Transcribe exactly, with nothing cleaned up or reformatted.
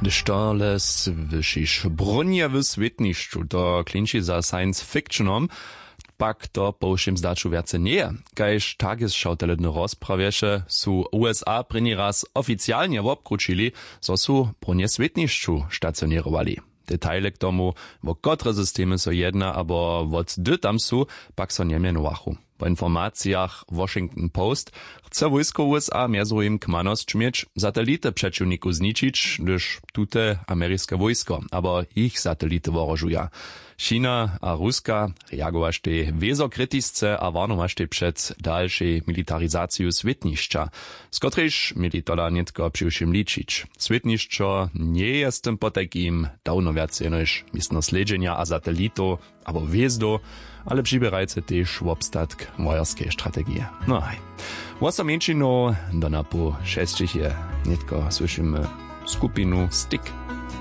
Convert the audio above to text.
Hdyž to le słyšiš, brunje w swětnišću, to klinči za science fictionom, pak to po wšěm zdaću wjace njeje. Kaž tagesšautelydny rozprawješe, su usa prěni raz oficialnje wobkrućili, zo su brunje w swětnišću stacioněrowali. Detaile k tomu, wo kotre systemy so jedna abo wot hdy tam su, pak so njemjenowachu. Po informacijach Washington Post chce wójsko usa mjez druhim kmanosć měć, satelity přećiwnikow zničić, hdyž tute ameriske wójsko abo jich satelity wohrožuja. China a Ruska reagowaštej wězo kritisce a warnowaštej před dalšej militarizaciju swětnišća, z kotrejž měli tola nětko přiwšěm ličić. Swětnišćo njeje z tym potajkim dawno wjac jenož městno slědźenja a satelitow abo hwězdow, ale přiběrajce tež wobstatk wojerskeje strategije. No haj, wosomjeńšinow do napoł šesćich je. Nětko słyšimy skupinu Stick.